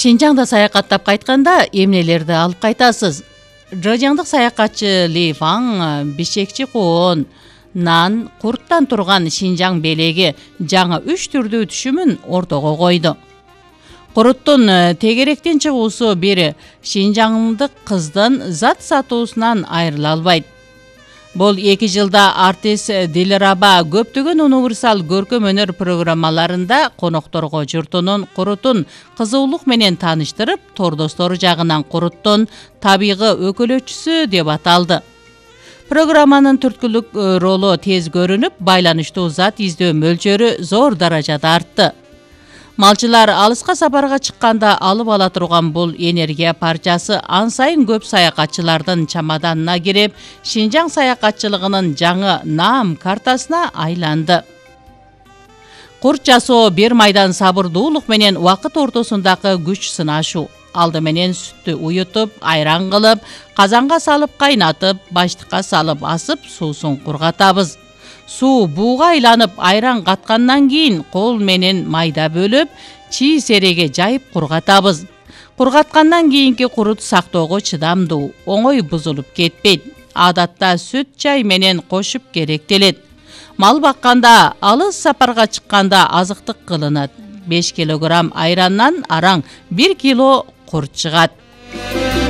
Шинжаңда саякаттап кайтканда эмнелерди алып кайтасыз? Жожаңдык саякатчы Ли Фаң бишекчи коон, нан, курттан турган Шинжаң белеги жаңы 3 түрдүү түшүмүн ортого койду. Куруттун тегеректен чыгуусу бир шинжаңдык кыздын зат сатуусунан айрыла албайт. Бул 2 жылда артист Дилраба көптөгөн универсал көркөм өнөр программаларында конокторго журтунун куруттун кызуулук менен тааныштырып, тордостору жагынан куруттун табигый өкөлөчүсү деп аталды. Программанын түрткүлүк ролу тез көрүнүп, байланыштуу зат издөө мөлчөрү зор даражада артты. Малчылар алыска сапарга чыкканда алып ала турган бул энергия парчасы ан сайын көп саякатчылардын чамаданына кирип, Шинжаң саякатчылыгынын жаңы наам картасына айланды. Курт жасоо бир майдан сабырдуулук менен убакыт ортосундагы күч сынашуу. Алды менен сүттү уютуп, айран кылып, казанга салып кайнатып, баштыкка салып асып, суусун кургатабыз. Суу бууга айланып, айран каткандан кийин кол менен майда бөлүп, чий сереге жайып кургатабыз. Кургаткандан кийинки курут сактоого чыдамдуу, оңой бузулуп кетпейт. Адатта сүт чай менен кошуп керектелет. Мал бакканда, алыс сапарга чыкканда азыктык кылынат. 5 килограмм айраннан араң 1 кило курт чыгат.